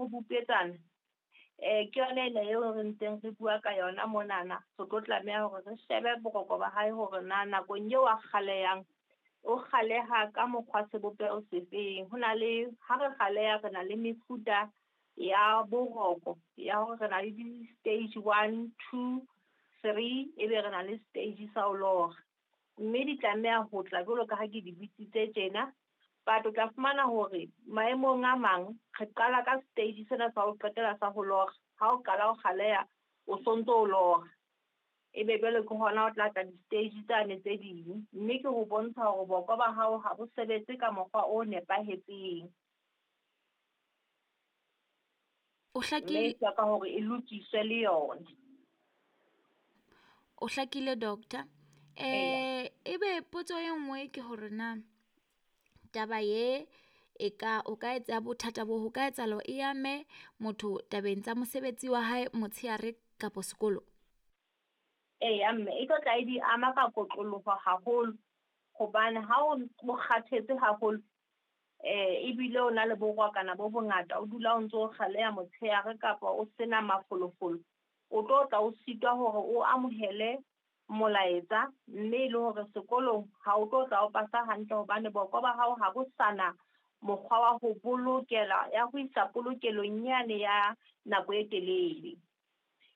ho bupetsana ke yona ena eo re ntseng re bua ka yona monana. Re tlo tlameha hore re shebe boroko ba hae hore na nakong eo a kgalehang, o kgaleha ka mokgwa sebopeho sefeng. Ho na le ha re kgaleha re na le mefuta ya boroko ya hore re na le di-stage 1, 2, 3, ebe re na le stage sa ho lora. Mme di tlameha ho tla jwalo ka ha ke di bitsitse tjena. But o tla fumana hore maemong a mang re qala ka stage sena sa ho qetela sa ho lora. Ha o qala ho kgaleha, o sontso o lora. Ebe jwale ke hona o tla tla di-stage tsane tse ding. Mme ke ho bontsha hore boko ba hao ha bo sebetse ka mokgwa o nepahetseng. O hlakile. Mme e hloka hore e lokiswe le yona. O hlakile doctor. Ebe potso e nngwe ke hore na taba ye e ka o ka etsa bothata bo ho ka etsahala e ame motho tabeng tsa mosebetsi wa hae motshehare kapa sekolo? Eya mme, e tlo tla e di ama ka kotloloho haholo, hobane ha o kgathetse haholo, ebile o na le borokwana bo bongata, o dula o ntso o kgaleha motshehare kapa o sena mafolofolo, o tlo tla o sitwa hore o amohele molaetsa, mme e le hore sekolong ha o tlo tla o pasa hantle hobane boko ba hao ha bo sana mokgwa wa ho bolokela, ya ho isa polokelong yane ya nako e telele.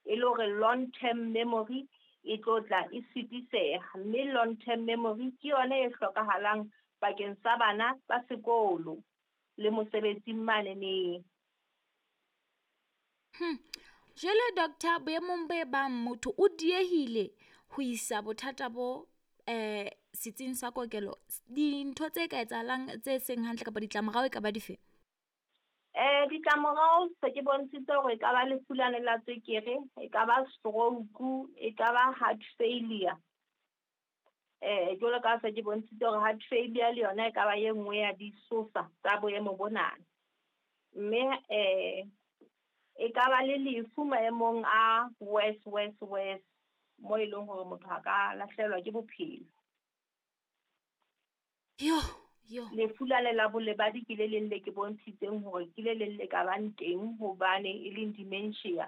E le hore long term memory e tlo tla e sitiseha, mme long term memory ke yona e hlokahalang bakeng sa bana ba sekolo le mosebetsing maneneng. Jwale doctor, boemong bo bang motho o diehile ho isa bothata bo setsing sa kokelo, dintho tse ka etsahalang tse seng hantle kapa ditlamorao e ka ba dife? Ditlamorao se ke bontshitse hore e ka ba lefu lane la tswekere, e ka ba stroke, e ka ba heart failure. Jwalo ka se ke bontshitse hore heart failure le yona e ka ba e nngwe ya disosa tsa boemo bona. Mme e ka ba le lefu maemong a worse, worse, worse, mo e leng hore motho a ka lahlehelwa ke bophelo. Yo, yo. Lefu lane la bolebadi ke le leng le ke bontshitseng hore ke le leng le ka bang teng hobane e leng dementia,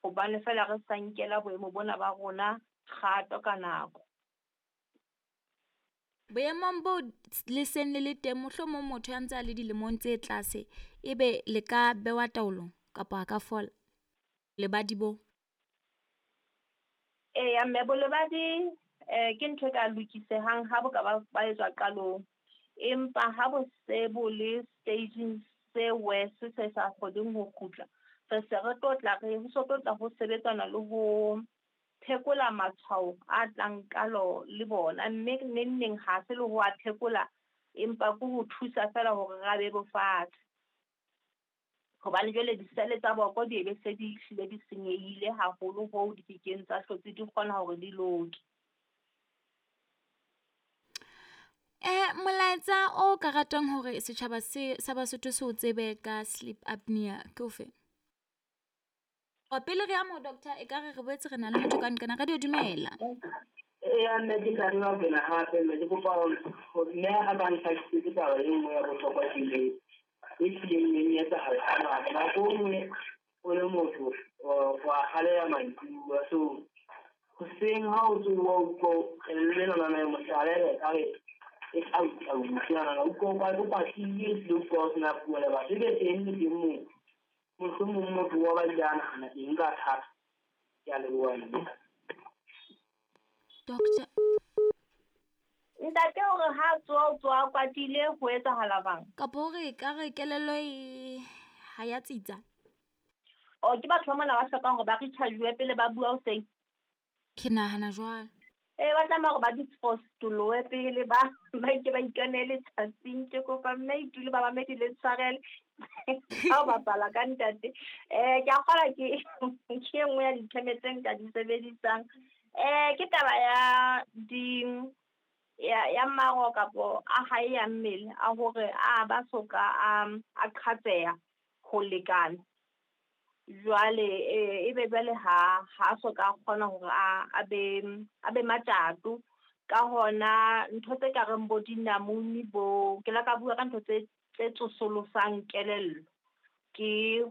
hobane feela re sa nkela boemo bona ba rona kgato ka nako. Boemong bo le seng le le teng, mohlomong motho ya ntse a le dilemong tse tlase, ebe le ka bewa taolong kapa a ka fola lebadi bo? Eya, mme bolebadi ke ntho e ka lokisehang ha bo ka ba etswa qalong, empa ha bo se bo le staging se worse se sa kgoneng ho kgutla, re se re tlo tla re ho so tlo tla ho sebetsana le ho phekola matshwao a tlang ka lo le bona, mme neng neng ha se le ho a phekola, empa ke ho thusa feela hore ra bebofatse. Hobane jwale disele tsa boko di be se di hlile di senyehile haholo hoo di kekeng tsa hlotse di kgona hore di loke. Molaetsa o ka ratang hore setjhaba se sa Basotho se o tsebe ka sleep apnea ke ofe? O pele re ya mo doctor, e ka re re boetse re na le motho ka nqena. Radio dumela. Eya, nna ke tla nna pela hape, mme ke kopa hore mme a ka ntlhakisetse taba e nngwe ya bohlokwa ke le e hlileng e etsahala hangata. Nako e nngwe o le motho wa kgaleha mantsibuya, so hoseng ha o tsoha o utlwa kelello enana e mohlala e ekare e tau-tau, enana o utlwa o kwatile, ehlile o utlwa o sena puo le batho. Ebe teng le teng moo mohlomong motho wa ba ile a nahana eng ka thata. Ke a leboha mme. Doctor. Ntate hore ha tsoha o tsoha kwatile ho etsahala bang? Kapo hore ka re kelello e ha ya tsitsa. O ke batho ba mona ba hlokang hore ba recharge pele ba bua hoseng. Ke nahana jwalo. Ba tlameha hore ba dispostoloe pele ba ke ba ikanele tsatsing. Ke kopa mme itule ba mamedi le tshwarele. Ha o bapala ka ntate. Ke a kgolwa ke e nngwe ya ditheme tse nka di sebedisang. Ke taba ya di ya maro kapo a hae ya mmele a hore a ba soka a qhatseha ho lekana. Jwale ebe jwale ha soka a kgona hore a be matjato. Ka hona ntho tse ka reng bo dinamune bo ke la ka bua ka ntho tse tsosolosang kelello ke ho